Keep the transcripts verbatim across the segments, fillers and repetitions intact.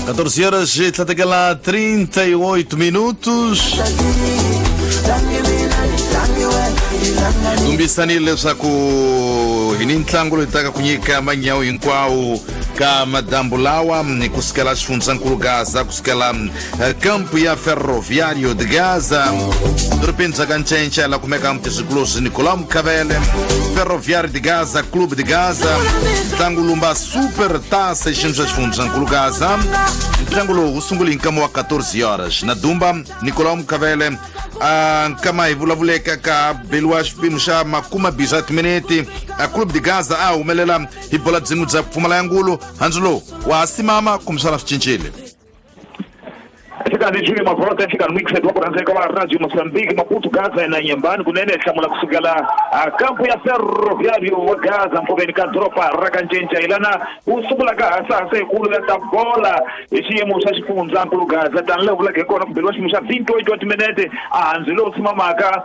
catorze horas e trinta e oito minutos. Tumbisanile leswaku hi ni ntlangu loyi taka ku nyika manyawu hinkwawo ka madambu lawa kusukela xifundzankulu Gaza, kusukela kampu ya Ferroviário de Gaza, dorobeni bya ka Ncenca la kumeka mutizwikulozi Nicolau Mkhavele. Ferroviário de Gaza, Clube de Gaza, ntlangu lumba Super Taça xiyimo xa xifundzankulu Gaza. Ntlangu lowu wu sungule hi nkama wa catorze horas na Dumba Nicolau Mkhavele. A nkama hi vulavuleka ka beliwa xipimo xa makume mbirhi swa timinete. A Clube de Gaza a humelela hi bola byin'we bya pfumala ya ngulu. Handzu lowu wa ha simama kumbexana swi cincile. Xikarhi Júlio Mavota, xikarhi mixed wa ku rhandzeka wa Radio Mozambique, Maputo, Gaza na Inhambane, kunene hlamula kusukela a kampu ya Ferroviário wa Gaza mpfuveni ka doroba ra ka Ncenca ilana wu sungula ka hasahasa yikulu ya ta bola hi xiyimo xa xifundzankulu Gaza tani laha vulaka hi kona ku beliwa xiyimo xa vinte e oito wa timinete a handzu lowu simamaka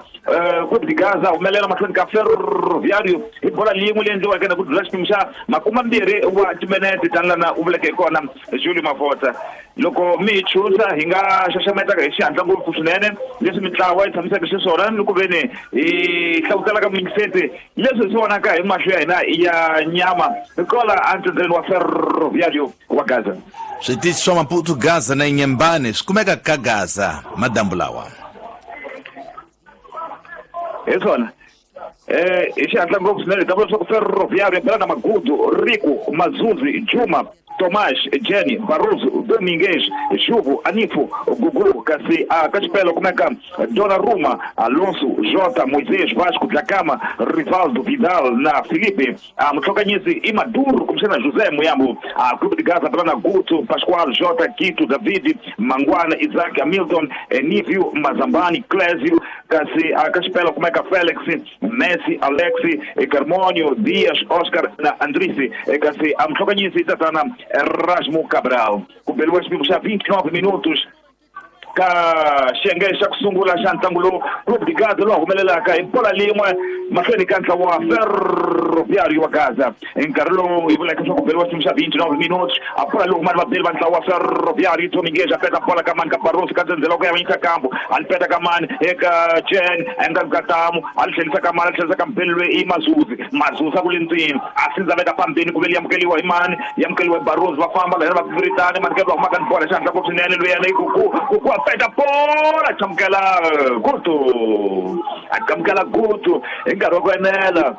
Clube de Gaza humelela mahlweni ka Ferroviário hi bola leyin'we leyi endliweke na ku dlula xipimo xa makume mbirhi wa timinete tani lana u vuleke hi kona Júlio Mavota. Loko mi hi chuza hi nga xaxametaka hi xihatla ngopfu swinene leswi mintlawa yi tshamisaka xiswona ni ku veni hi hlavutelaka mingiseti leswi hi swi vonaka hi mahlo ya hina ya nyama hi kola entsendzeni wa Ferroviário wa Gaza. Switichi swa Maputo, Gaza na Inhambane swi kumeka ka Gaza madambu lawa. Hi swona eh hi xihatla ngopfu swinene hi ta vula leswaku Ferroviário ya na Magudu, Rico, Mazuzi, Juma, Tomás, Jenny, Barroso, Domingues, Juvo, Anifo, Gugu, kasi a Caspelo, kumeka Donnarumma, Alonso, Jota, Moisés, Vasco, Dlakama, Rivaldo, Vidal, na Felipe, a Mutlokanyisi, Imaduro, kumsena José Muyambo, a Clube de Gaza, Plana Guto, Pascoal, Jota, Quito, David, Manguana, Isaac, Hamilton, Nívio, Mazambani, Clésio, kasi a Caspelo, kumeka Félix, Messi, Alexi, Carmônio, Dias, Oscar, na Andrice, kasi a Mutlokanyisi, Tatana Erasmo Cabral. Ku beliwa xipimo xa vinte e nove minutos ka xiyenge xa ku sungula xa ntlangu lowu Clube de Gaza lowu humelelaka hi bola lin'we mahlweni ka ntlawa wa Ferroviário wa Gaza. Hi nkarhi lowu hi vulaka leswaku beliwa xipimo xa vinte e nove minutos a bola lowu mani vabeli va ntlawa wa Ferroviário Domingues a peta bola ka mani ka Barroso ka ndzhendzela ku ya vanyisa kambu a li peta ka mani eka Jen endzhaku ka tamu a li tlhelisa ka mani a li tlhelisa ka mbeli loyi i Mazuzi. Mazuzi a ku le ndzeni a sindzaveta pambeni ku veli amukeliwa hi mani yi amukeliwa hi Barroso va famba lahena va viritane mani ke va humaka ni bola xihatla ngopfu swinene loyi yena i Gugu. Gugu a peta bola chamukela Gutu, a chamukela Gutu hi nkarhi wa ku enela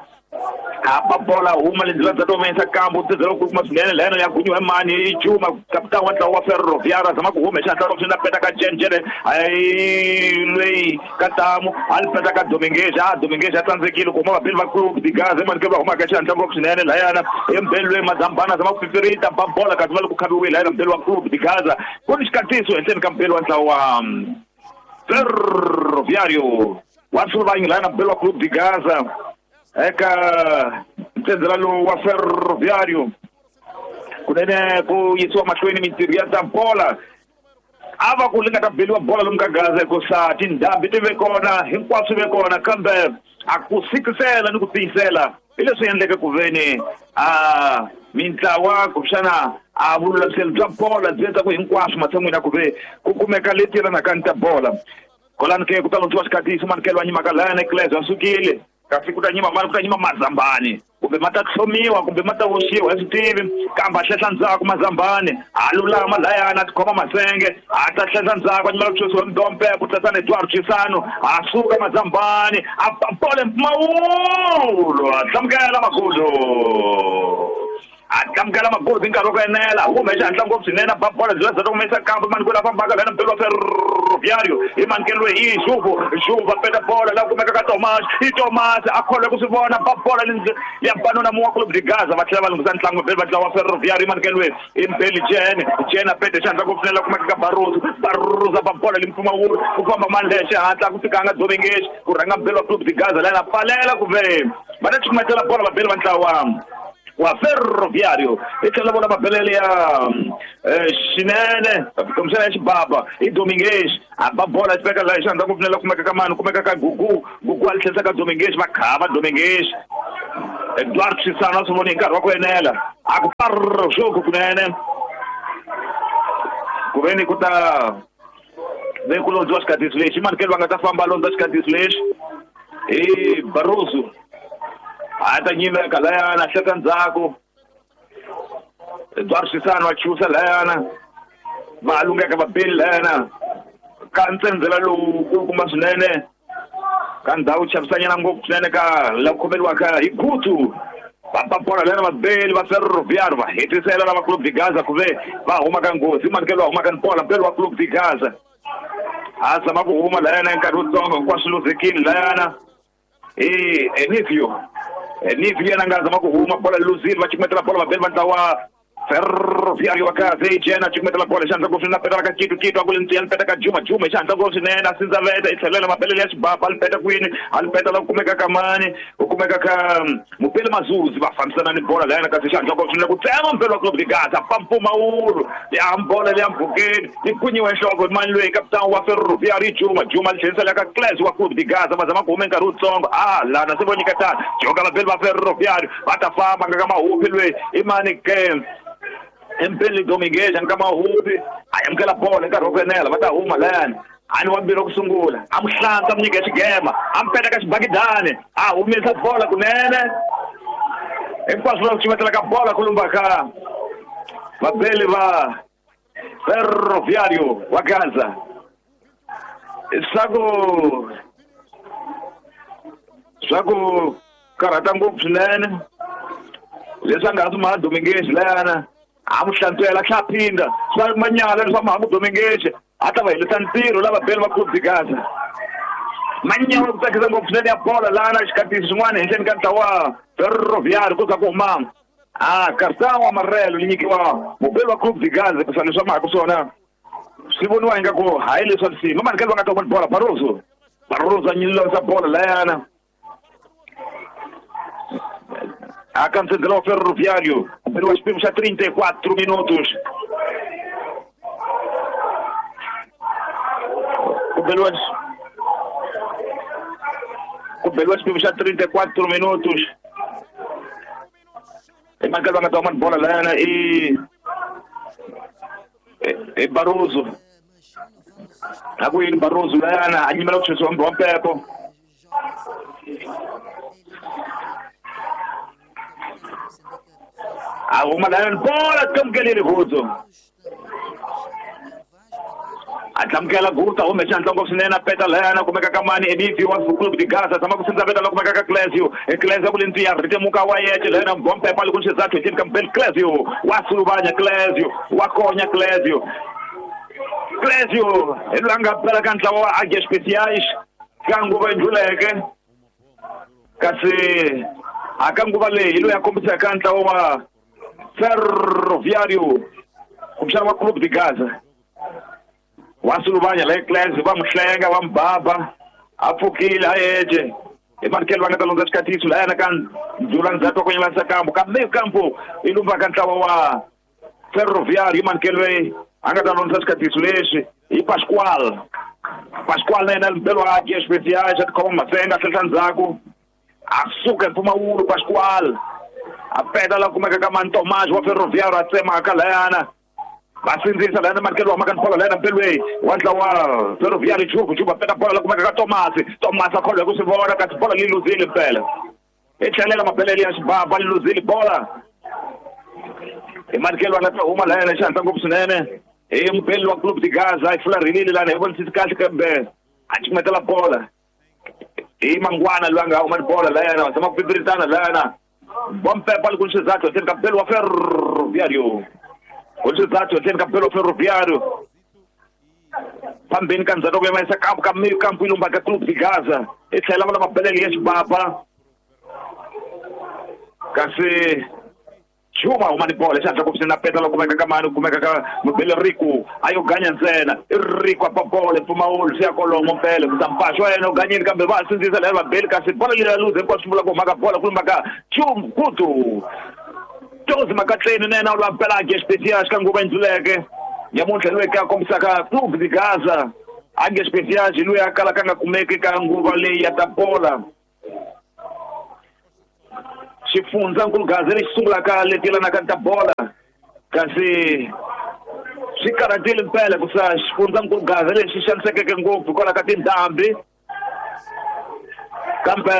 a ba bola huma le ndlela bya tomesa kambu ndzela ku kuma swinene lena ya gunyiwa hi mani i Juma kapitani wa ntlawa wa Ferroviário a zama ku huma hi xihatla ngopfu swinene a peta ka Jen Jen ayi loyi ka tamu a li peta ka Domingues a Domingues a tsandzekile ku huma vabeli va Clube de Gaza mani ke va humaka xihatla ngopfu swinene layana i mbeli loyi Mazambana a zama ku fifirita ba bola kasi va le ku khaviwile layana mbeli wa Clube de Gaza ku ni xikatiso henhleni ka mbeli wa ntlawa wa Ferroviário wa Suluvanyi layana mbeli wa Clube de Gaza eka ntsenzela lowu wa Ferroviário kunene ku yisiwa mahlweni mintirho ya ta bola a va ku li nga ta beliwa bola lomu ka Gaza hikusa tindhambi ti ve kona hinkwaswo ve kona kambe a ku sikisela ni ku tiyisela hi leswi endleke ku veni a mintlawa kumbexana a vululamiselo bya bola byi endla ku hinkwaswo matshan'wini ya ku ve ku kumeka leti yelanaka ni ta bola kolani ke ku ta londziwa xikatiso manikelo wa nyimaka layana Clésio a sukile kasi ku ta nyima mani ku ta nyima Mazambani kumbe ma ta tlhomiwa kumbe ma ta voxiwa hi swi tivi kambe a hlehla ndzhaku Mazambani a lulama layana a tikhoma masenge a ta hlehla ndzhaku a nyimela ku chusiwa Mdompe ku tlatsa na Eduardo Chisano a suka Mazambani a bole mpfumawulo a hlamukela Magudu a hlamukela Magudu hi nkarhi wa ku enela hume xihatla ngopfu swinene a ba bola byi za humesa kambe mani ku la fambaka lana mbeli wa Ferroviário hi manikelo hi Juvo Juvo a peta bola la kumeka ka Tomás i Tomás a kholwe ku swi vona ba bola ya banona muwa Clube de Gaza va tlhela va lunghisa ntlangu mbeli va ntlawa wa Ferroviário hi manikelo i mbeli Jen Jen a peta xihatla ngopfu swinene la kumeka ka Barroso Barroso a ba bola limpfumawulo ku famba mani leya xihatla ku fikanga Domingues ku rhanga mbeli wa Clube de Gaza lana pfalela ku ve va ta cukumetela bola vabeli va ntlawa wa Ferroviário i tlhela vona mabelele ya xinene kumbexana ya xibaba i Domingues a ba bola xi veka laha xandla ku pfunela kumeka ka mani kumeka ka Gugu Gugu a li tlhelisa ka Domingues va khava Domingues Eduardo Chisano a swi voni hi nkarhi wa ku enela a ku parr xoku kunene Ku ve ni ku ta ve ku londziwa xikatisi lexi manikelo va nga ta famba londza xikatisi lexi i Barroso a ta nyimeka layana hleka ndzhaku Eduardo Chissano wa chusa layana va lungeka vabeli layana ka ntsendzela lowu kulukumba swinene ka ndhawu chavisanyana ngopfu swinene ka la ku khomeriwaka hi Gutu va bola layana vabeli va Ferroviário va hetisela lava Clube de Gaza ku ve va huma ka nghozi manikelo va huma ka bola mbeli wa Clube de Gaza a zama ku huma layana hi nkarhi wutsongo hinkwaswo luzekile layana i Enivio Enivio yena nga zama ku huma bola luzile va cukumetela bola vabeli va ntlawa Ferroviário wa Gaza i jena cukumetela bola xandla ngopfu swinene a petela ka Kitu Kitu a ku le ntiya peta ka Juma Juma xandla ngopfu swinene a sindzaveta i tlhelela mabelele ya xibaba a li peta kwini a li peta la ku kumeka ka mani u kumeka ka Mupele Mazuzi va fambisana ni bola layana kasi xandla ngopfu swinene ku tsema mbelo wa Clube de Gaza pampumawulu ya bola leya mpfhukeni yi kunyiwe nhloko mani loyi kapitani wa Ferroviário Juma Juma li tlherisela ka Claes wa Clube de Gaza va zama ku huma nkarhi wutsongo a lana se vo nyiketana joka vabeli va Ferroviário va ta famba nga ka mahupi loyi i mani ke Mpeli Dominguez nga mahupi a amukela bola nkarhi wo ku enela va ta huma layani a ni wa mbirhi ku sungula a mu hlantswa a mu nyika xigema a mu peta ka xibakidani a humesa bola kunene hinkwaswo va ku cumetela ka bola ku lumba ka vabeli va Ferroviário wa Gaza swa ku swa ku karhata ngopfu swinene leswi a nga ha swi maha Dominguez layana a mu hlantswela tlha phinda swa manyala leswa maha Dominguez a ta va helisa ntirho lava beli va Clube de Gaza manyala ku tsakisa ngopfu swinene ya bola lana xikatisi xin'wana henhleni ka ntlawa Ferroviário ku za ku huma a cartão amarelo li nyikiwa mubeli wa Clube de Gaza ku leswi mahaku swona swi voniwa ingaku hayi leswa nsimu manikelo va nga ta huma bola Barroso Barroso a nyilisa bola layana a cancelou o Ferroviário pelo xipimo xa trinta e quatro minutos ku beliwa xipimo xa trinta e quatro minutos i manikelo va nga ta huma bola layana i i Barroso a ku yini Barroso layana a nyimela ku chesiwa wa mpepo a huma layana bola tlamukelile Gutu a tlamukela Gutu a hume xandla ngopfu swinene a peta layana kumeka ka mani Enivio wa Clube de Gaza tshama ku sindzaveta la kumeka ka Clésio Clésio ku le ntiya ritemuka wa yece layana bompepa li ku xizathu hi ka Mbeli Clésio wa suluvanya Clésio wa konya Clésio Clésio hi loyi a nga pela ka ntlawa wa Águias Especiais ka nguva yi ndluleke kasi a ka nguva leyi hi loyi a kombisaka ntlawa wa Ferroviário kumbexana wa Clube de Gaza wa suluvanya la Clésio va mu hlenga va mu baba a pfukile a yece i manikelo va nga ta londza xikatiso layana ka ndzula ndzhaku wa ku nyelanisa kambu ka meyo kambu i lumba ka ntlawa wa Ferroviário i manikelo loyi a nga ta londza xikatiso lexi i Pascoal Pascoal na yena mbelo wa Águias Especiais a tikhoma masenga a tlhela ndzhaku a suka hi mpfumawulo Pascoal a peta la kumeka ka mani Tomás wa Ferroviário a tsemaka layana va sindzisa layana manikelo wa maka bola layana mpelweni wa ntlawa Ferroviário Juku Juba peta bola la kumeka ka Tomás Tomás a kholwa hi ku swi vona kasi bola li luzile mpela i tlhelela mabelele ya xibaba li luzile bola i manikelo a nga ta huma layana xihatla ngopfu swinene hi mubeli wa Clube de Gaza i fularhelile lana hi vonisisi kahle kambe a cukumetela bola hi Mangwana loyi a nga huma ni bola layana va zama ku pipiritana layana bompepa li ku xizathu henhleni ka mbeli wa Ferroviário ku xizathu henhleni ka mbeli wa Ferroviário phambeni ka ndzhaku ku yimisa kampu ka meyo kampu yi lumba ka Clube de Gaza i tlhela va la mabelele ya xibaba kasi Juma huma ni bola xandla ku na peta la kumeka ka mani kumeka ka mubeli Rico a yo ganya ntsena i Rico a pa bola mpfumawulo swi ya kolomo mpela ku mpaxo wa yena u ganyile kambe va sindzisa lava vabeli kasi bola leyi ya luze hinkwaswo swi vula ku huma ka bola ku lumba ka Chum Kutu Tozi Makatleni na yena u lwa mpela Águias Especiais ka nguva yi ndluleke nyamuntlha loyi ka kombisaka Clube de Gaza Águias Especiais hi loyi a kalaka a nga kumeki ka nguva leyi ya ta bola xifundzankulu Gaza lexi sungulaka leti yelanaka ta bola kasi Swi karhatile mpela ku sa xifundzankulu Gaza lexi xanisekeke ngopfu hikwalaho ka tindhambi kambe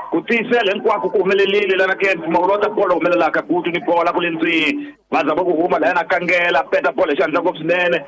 ku tiyisela hinkwako ku humelerile lana ke mpfumawulo wa ta bolo humelelaka Gutu ni bola ku le ndzeni va zama ku huma lahayana kangela peta bolo hi xandla ngopfu swinene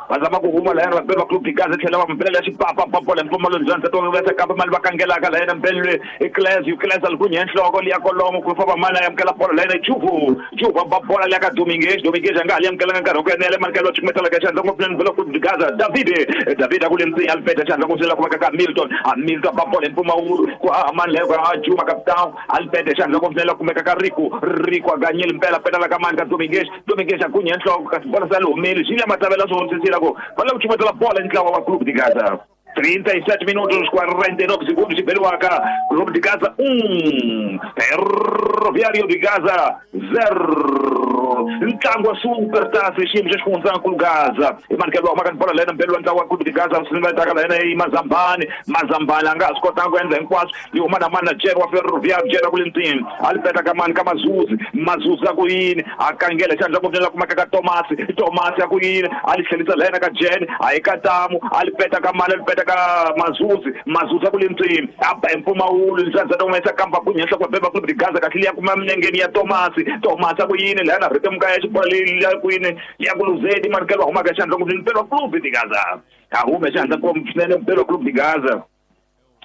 va zama ku huma lahayana vabeli va Clube de Gaza tlhela va mbelela xipapa ba bolo hi mpfumawulo ndzandza to vesa kambe mali va kangelaka lahayana mbelwe i Cles Cles a li kunye nhloko liya kolomo ku famba mali a amukela bolo lahayana Juvu Juvu ba bola liya ka Dominguez Dominguez a nga ha li amukelanga nkarhi wa ku enela manikelo cukumetela ka xandla ngopfu swinene Clube de Gaza David David a ku le ndzeni a li peta xandla ngopfu swinene kumeka ka Milton a Milton ba bolo hi mpfumawulo ku haha mani leyo ka Juma capitão a li peta xandla ngopfu swinene kumeka ka Rico Rico a ganyeli mpela petela ka mani ka Dominguez Dominguez a kunye nhloko kasi bola sa li humeli swi le matavela swi hundzisile ku va lava ku cukumetela bola ntlawa wa Clube de Gaza. trinta e sete minutos, quarenta e nove segundos de Beluaca. Clube de Gaza um, Ferroviário de Gaza zero. Ntlangu wa Super Taça xiyimo xa xifundzankulu Gaza. I manikelo wa bola lena mbelo ntlangu wa Clube de Gaza swi taka lena i Mazambani. Mazambani a nga ha swi kotanga ku endla hinkwaswo. Yi huma na mani na Jere wa Ferroviário Jere ku le ndzeni. A li peta ka mani ka Mazuzi. Mazuzi a ku yini? A kangela xandla ku la kumeka ka Tomasi. Tomasi a ku yini? A li tlhelisa lena ka Jene. A yi ka Tamu. A li peta ka mani a li peta ka Mazuzi. Mazuzi a ku le ndzeni. A ba hi mpfumawulo ndzandza ta humesa kamba ku nyenhla kwa beba Clube de Gaza kahle liya kuma minengeni ya Tomasi. Tomasi a ku yini? Lena rito mukaya xibola leyi ya ku yini? Ya ku luzeni manikelo wa humaka xandla ngopfu mpelo Clube de Gaza. A hume xandla ngopfu swinene mpelo Clube de Gaza.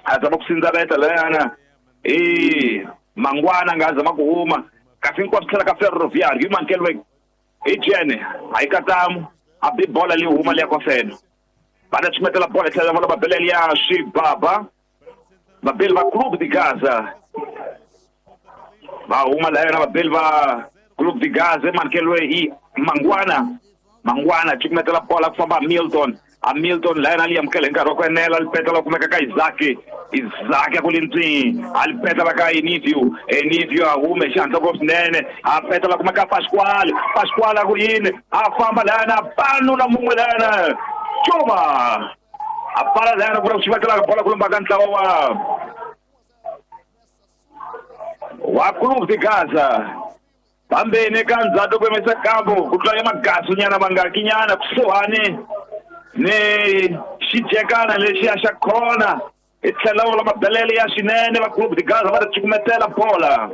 A zama ku sindzaveta leyana. Eh, Mangwana nga zama ku huma. Kasi hinkwaswo tlhela ka Ferroviário hi manikelo i Jene. A yi katamu. A bi bola leyi huma liya kwafeno. Va ta cukumetela bola tlhela va va belela ya Xibaba. Vabeli va Clube de Gaza. Va huma lahayana vabeli va Clube de Gaza manikelo hi Mangwana. Mangwana cukumetela bola ku famba Milton. A Milton lahayana li amukela hi nkarhi wa ku enela li petela kumeka ka Isaac. Isaac a ku le ndzeni. A li petela ka Enivio. Enivio a hume xandla ngopfu swinene. A petela kumeka Pasquale. Pasquale a ku yini? A famba lahayana panu na mun'we lahayana. Juma. A pala lahayana ku ri ku xivatela bola ku lumba ka ntlawa wa wa Clube de Gaza. Pambeni ka ndzhaku ku yimisa kambu ku tlula magasu nyana mangaki nyana kusuhani ni xijekana lexiya xa khona i tlhela wu la mabelele ya swinene va Clube de Gaza va ta cukumetela bola.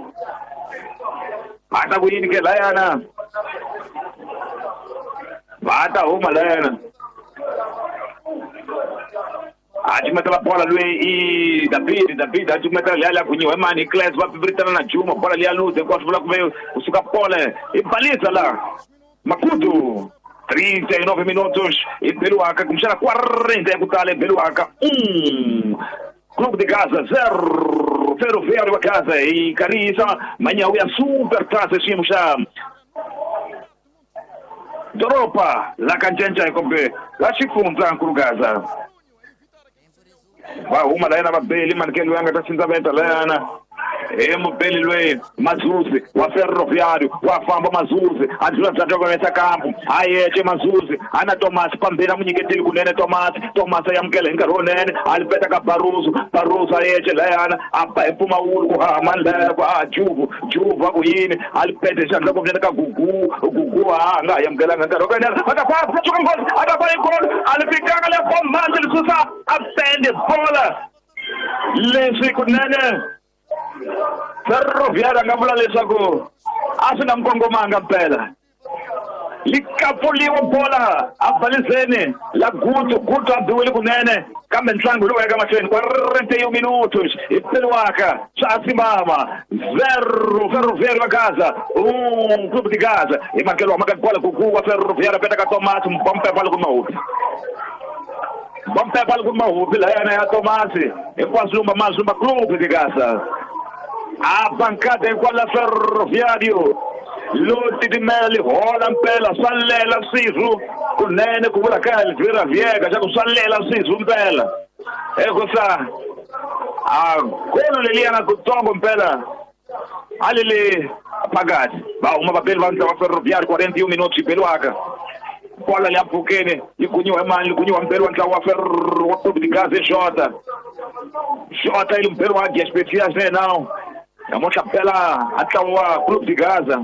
Va ta ku yini ke layana? Va ta huma layana. A cukumetela bola loyi i David David a cukumetela liya liya gunyiwa hi mani hi Cles va pipiritana na Juma bola liya luze hinkwaswo vula ku ve kusuka pole i balisa la Makutu. trinta e nove minutos e Beluaca kumbexana quarenta ya ku tala Beluaca um Clube de Gaza zero Ferroviário wa Gaza i karisa manyawu ya Super Taça xiyimo xa doroba la ka kumbe la xifundzankulu Gaza. Va huma layana vabeli manikelo ya nga ta sindzaveta layana. E mubeli loyi Mazuzi wa Ferroviário wa famba Mazuzi a dlula ndzhaku ka yesa kampu a yece Mazuzi a na Tomasi pambeni a n'wi nyiketeli kunene Tomasi Tomasi a amukela hi nkarhi wunene a li peta ka Barroso Barroso a yece layana a ba hi mpfumawulo ku haha mani layana ku a Juvu Juvu a ku yini a li pete xandla ku ka Gugu Gugu a nga ha amukelanga nkarhi wa ku enela a ta famba tshuka nghozi a ta fa hi golo a li fikanga le bomandzi li susa a pende bola leswi kunene Ferroviário a nga vula leswaku a swi nga n'wi kongomanga mpela. Li kapfuliwa bola a balizeni la Gutu Gutu a biwile kunene kambe ntlangu lowu ya ka mahlweni quarenta e um minutos hi Beluaca swa simama zero Ferroviário wa Gaza um Clube de Gaza hi makelo wa maka bola Gugu wa Ferroviário peta ka Tomasi mbompe bola ku mahupi bompe bola ku mahupi layana ya Tomasi hinkwaswo lumba mazumba Clube de Gaza. A bancada hikwala Ferroviário lo titimela li hola mpela swa lela swirhu kunene ku vula ka Elvira Viega xa ku swa lela swirhu mpela ekusa a golo leliyana kutsongo mpela a li le phakathi va huma vabeli va ntlawa Ferroviário quarenta e um minutos Beluaca bola liya mpfhukeni yi gunyiwa hi mani li gunyiwa mpeli wa ntlawa wa Ferro wa Clube de Gaza Jota Jota ili mpeli wa Águias Especiais né não namuntlha mpela a ntlawa wa Clube de Gaza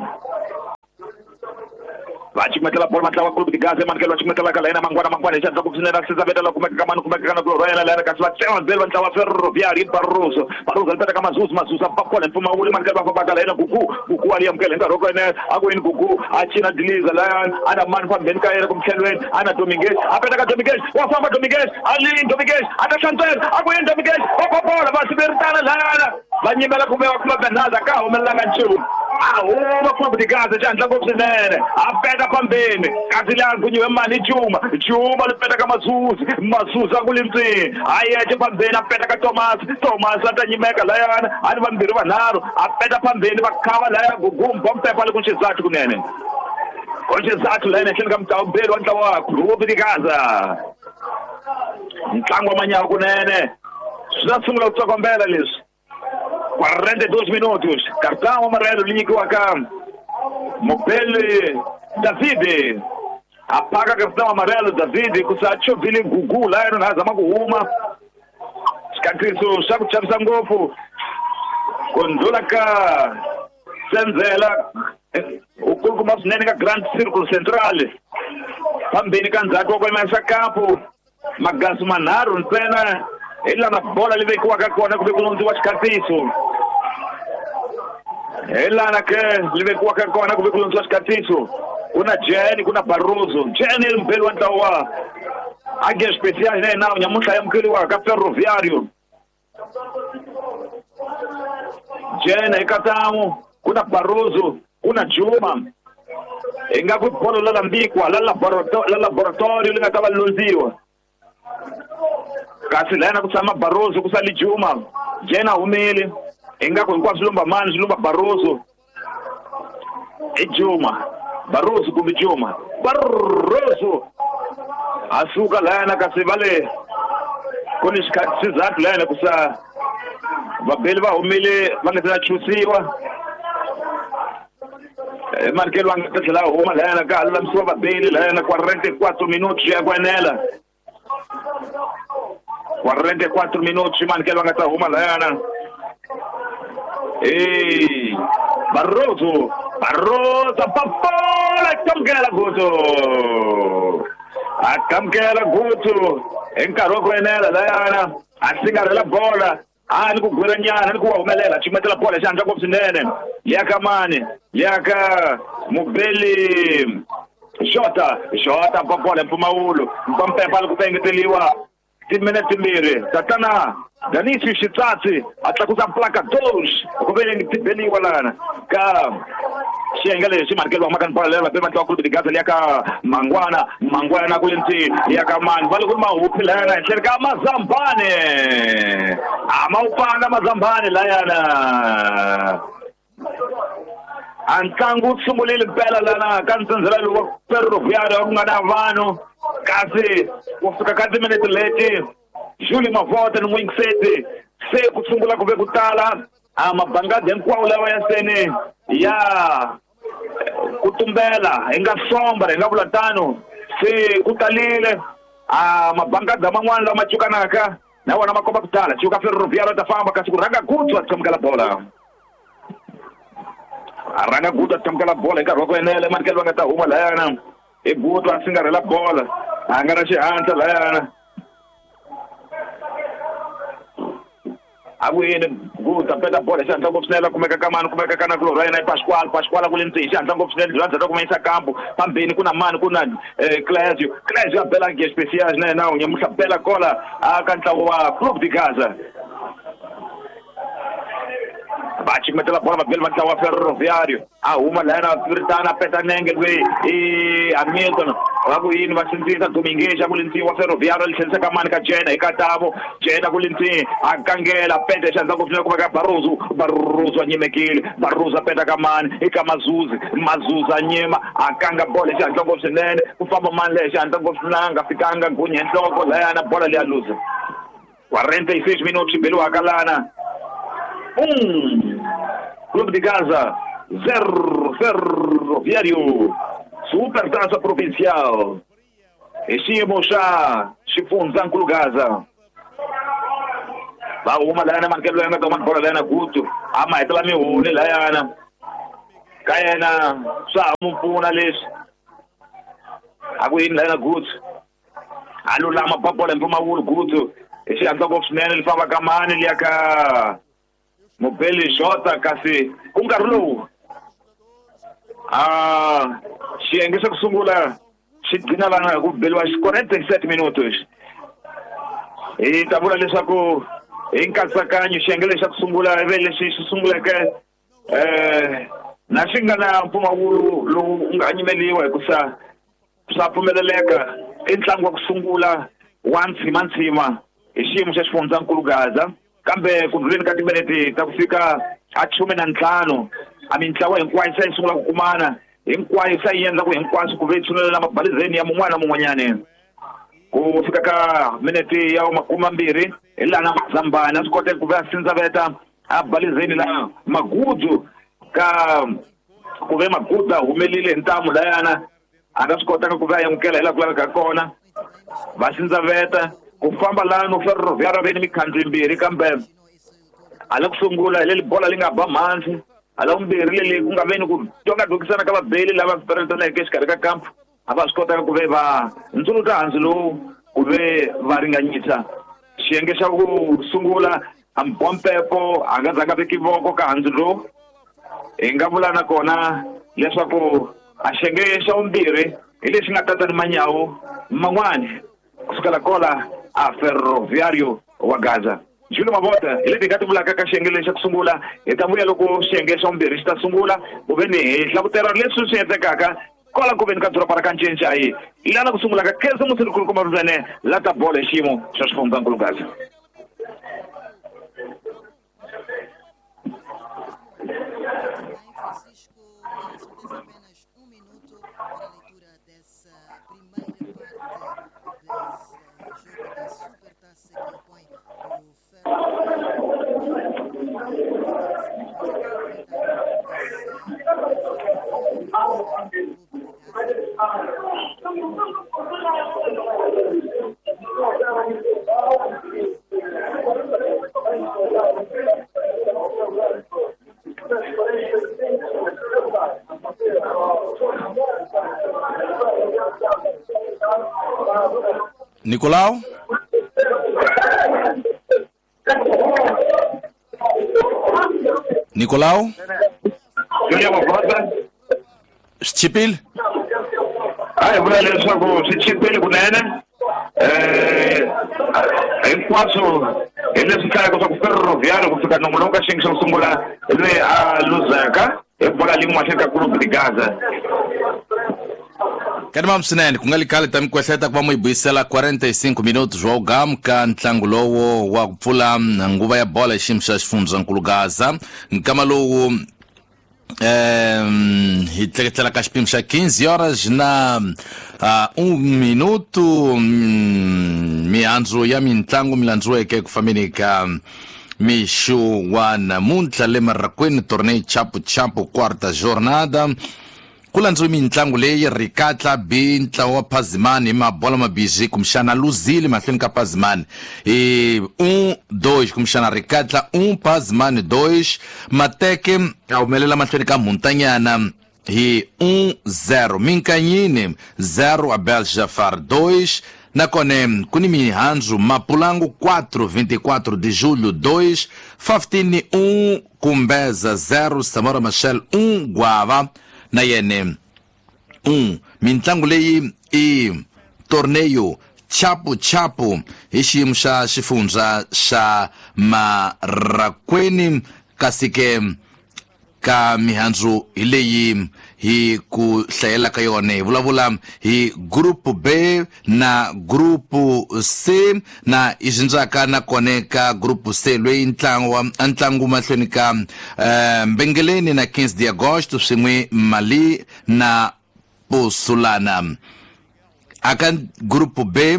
Va cukumetela bolo vatlawa Clube de Gaza manikelo va cukumetela ka layena Mangwana Mangwana hi xandla ku swinene a sisa veta la kumeka ka mani kumeka ka na kulorho yena layena kasi va tsema belo va ntlawa Ferroviário Barroso Barroso li peta ka Mazuzu Mazuzu a pakola mpfumawulo manikelo va famba ka layena Gugu Gugu a li amukela hi nkarhi wa kona a ku yini Gugu a cina diliza layana a na mani fambeni ka yena kumtlhelweni a na Dominguez a peta ka Dominguez wa famba Dominguez a lini Dominguez a ta hlantswela a ku yini Dominguez va pakola va siveritana layana va nyimela kumbe va kuma Bernardo ka humelelanga nchumu a huma Clube de Gaza xandla ngopfu swinene a peta phambeni kasi laha gunyiwe mani Juma Juma li peta ka Mazuzu Mazuzu a ku li ntsini a yexe phambeni a peta ka Thomas Thomas a ta nyimeka layana a ni vambirhi vanharhu a peta phambeni va khava laya Gugumba Mpepa le ku xizathu kunene ku xizathu layena ehenhleni ka mutawumbeli wa ntlawa wa Clube de Gaza ntlangu wa manyawa kunene swi ta sungula ku tsokombela leswi quarenta e dois minutos cartão amarelo li nyikiwaka Mobele David apaga cartão amarelo David ku sa chovile Gugu la yena na zama ku huma xikantiso xa ku chavisa ngopfu ku ndlula ka Senzela u kulukumba swinene ka Grand Circle Central phambeni ka ndzhaku wa kwemesa kapu magasu manharhu ntsena hi lana bola li vekiwaka kona ku ve ku lundziwa xikhatiso hi lana ke li vekiwaka kona ku ve ku lundziwa xikhatiso ku na Jenny ku na Barroso Jenny i mubeli wa ntlawa wa Águia Especial né nawu nyamuntlha ya amukeriwaka ka Ferroviário Jenny eka ku na Barroso ku na Juma hi nga ku bolo la lambikwa la la laboratorio li nga ta va lundziwa kasi layena ku tshama Barroso ku sali Juma Jena humile ingaku hinkwaswo swi lumba mani swi lumba Barroso i Juma Barroso kumbe Juma Barroso a suka layena kasi va le ku ni xizathu layena ku sa vabeli va humile va nga se na chusiwa manikelo va nga ta tlhela huma layena ka ha lulamisiwa vabeli layena quarenta e quatro minutos ya ku enela quarenta e quatro minutos manikelo va nga ta huma layana ei Barroso Barroso papola kamukela Gutu a kamukela Gutu hi nkarhi wa ku enela layana a singarhela bola a ni ku gwela nyana ni ku wa humelela cukumetela bola xandla ngopfu swinene liya ka mani liya ka Mubeli Xota Xota papola mpfumawulo mpampepa li ku pengeteliwa timinete timbirhi tatana Danisi Xitsatsi a tlakusa placa dos ku ve ti beliwa lana ka xiyenge lexi manikelo wa makani bola leri vabe vatlawa Clube de Gaza liya ka Mangwana Mangwana ku lentsini liya ka mani va le ku ri mahuphi layana henhleni ka Mazambane a ma wu panga Mazambane layana a ntlangu wu sungulile mpela lana ka ntsendzela lowu wa Ferroviário ku nga na vanhu kasi ku fika ka timinete leti Júlio Mavota ni n'wingiseti se ku sungula ku ve ku tala a mabangadi hinkwawo lawa ya seni ya ku tumbela hi nga sombra hi nga vula tano se ku talile a mabangadi man'wana lama cukanaka na wona ma komba ku tala cuka Ferroviário ta famba kasi ku rhanga Gutu a tshamukela bola a rhanga Gutu a tshamukela bola hi nkarhi wa ku enela manikelo va nga ta huma layana i Gutu a singarhela bola a nga na xihatla layana a ku yini Gutu a peta bola xihatla ngopfu swinene kumeka ka mani kumeka ka na kulorha yena i Pascual Pascual a ku le ndzeni xihatla ngopfu swinene bya ndzhaku kuma yisa kampu phambeni ku na mani ku na Clésio Clésio a bela Águia Especial na yena nyamuntlha bela kola a ka ntlawa wa Clube de Gaza va cukumetela bola vabeli va ntlawa wa Ferroviário a huma layana viritana a peta nenge loyi i Hamilton va ku yini va sindzisa Dominguez a ku le ntsini wa Ferroviário li tlherisa ka mani ka Jena hi Katavo Jena ku le ntsini a kangela peta xandla ngopfu swinene kumeka Barroso Barroso a nyimekile Barroso a peta ka mani i ka Mazuzi Mazuzi a nyima a kanga bola xandla ngopfu swinene ku famba mani leyi xandla ngopfu swinene a nga fikanga gunya hi nhloko layana bola leya luza quarenta e seis minutos beliwaka lana Um, Clube de Gaza, zero, Ferroviário, Supertaça Provincial. Hi xiyimo xa xifundzankulu Gaza. Va huma layana manikelo ya nga ta bola layana Gutu a ma hetela mihuni layana ka yena swa ha mu pfuna leswi A ku yini lana Gutsu a lulama ba bola mpfumawulo Gutsu hi xihatla ngopfu swinene li famba ka mani liya ka Mobeli Jota kasi ku nkarhi lowu a xiyenge xa ku sungula xi gcina lana hi ku beliwa quarenta e sete minutos. Hi ta vula leswaku hi nkatsakanyo xiyenge lexi xa ku sungula ive lexi xi sunguleke um na xi nga na mpfumawulo lowu nga nyimeliwa hikusa swa pfumeleleka i ntlangu wa ku sungula wa ntshimantsima hi xiyimo xa xifundzankulu Gaza kambe ku ndluleni ka timinete ta ku fika a khume na ntlhanu a mintlawa hinkwayo se yi sungula ku kumana hinkwayo se yi endla ku hinkwaswo ku ve tshunelela mabalizeni ya mun'wana na mun'wanyani ku fika ka minete ya makume mambirhi hi laha na Mazambani a swi koteka ku ve a sindzaveta a balizeni la Magudu ka ku ve Magudu a humelile hi ntamu layana a nga swi kotanga ku ve a amukela hi laha ku lavekaka kona va sindzaveta ku famba lano Ferroviário ve ni mikhandzu yimbirhi kambe hala ku sungula hi leli bola li nga ba mhansi hala vumbirhi leli ku nga veni ku tongadokisana ka vabeli lava peretaneke exikarhi ka kampu a va swi kotanga ku ve va ndzuluta hansi lowu ku ve va ringanyisa xiyenge xa ku sungula a Mbompepo a nga zanga veki voko ka hansi lowu hi nga vula nakona leswaku a xiyenge xa vumbirhi hi lexi nga tata ni manyawu man'wani kusukela kola a Ferroviário wa Gaza. Julio Mavota hi leti hi nga ti vulaka ka xiyenge lexi xa ku sungula hi ta vuya loko xiyenge xa vumbirhi xi ta sungula ku ve ni hi hlavutela leswi swi endlekaka kwala ku veni ka doroba ra ka Ncencai lana ku sungula ka khensa musilikulukumba ruzene la ta bolo hi xiyimo xa xifundzankulu Gaza. Francisco, só tens apenas um minuto para a leitura dessa primeira parte desse jogo da Supertaça que opõe o Nicolau? Nicolau? Julio Mavota Xipile? A hi vula leswaku swi chipile kunene um hinkwaswo hi leswi hlayaka swa ku Ferroviário ku fika nongonoko ka xiyenge xa ku sungula loyi a luzaka hi bola lin'we mahlweni ka Clube de Gaza. Kanimam swinene ku nga li khale ta mi kwehleta ku va mu yi buyisela quarenta e cinco minutos wa ugamu ka ntlangu lowo wa ku pfula nguva ya bola hi xiyimo xa xifundzankulu Gaza nkama lowu um, hi tleketlela ka xipimo xa quinze horas na uh, um minuto um, mihandzu ya mintlangu mi landziweke ku fambeni ka mixo wa namuntlha le Marrakwini torneo Chapo Chapo quarta jornada ku landziwe mintlangu leyi Rikatla B ntlawa wa Pazimani hi mabola mabirhi kumbexana luzile mahlweni ka Pazimani hi um dois kumbexana Rikatla um Pazimani dois Mateke a humelela mahlweni ka Muntanyana hi um zero Minkanyini zero Abel Jafar dois nakona ku ni mihandzu Mapulangu quatro vinte e quatro de julho dois Faftini um Kumbeza zero Samora Machel um Guava na yene um mintlangu leyi i torneio Chapo Chapo hi xiyimo xa xifundza xa Marrakwini kasi ke ka mihandzu hi leyi hi ku hlayela ka yona hi vulavula hi group B na group C na i xindzaka na kone ka group C loyi ntlangu wa ntlangu mahlweni ka uh, Mbengeleni na quinze de agosto swin'we Mali na Pusulana aka group B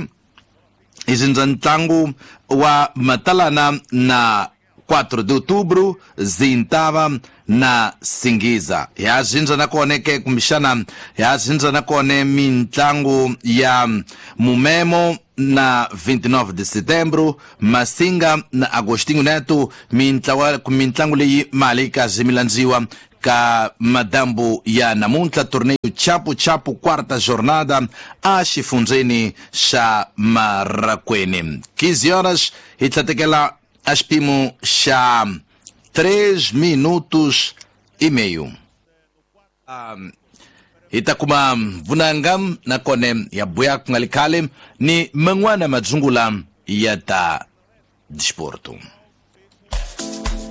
i xindza ntlangu wa Matalana na quatro de outubro Zintava na Singiza ya zinza na kone ke kumbixana ya zinza na kone mintlangu ya Mumemo na vinte e nove de setembro Masinga na Agostinho Neto mintlawa mintlangu leyi mali ka zimilandziwa Ka madambu ya namuntlha torneio Chapu Chapu quarta jornada a xifundzeni xa Marracuene. quinze horas hi tlhatekela a xipimo xa três minutos e meio. Um, hi ta kuma vunanga nakona ya buya ku nga li khale ni man'wana madzungula ya ta disporto.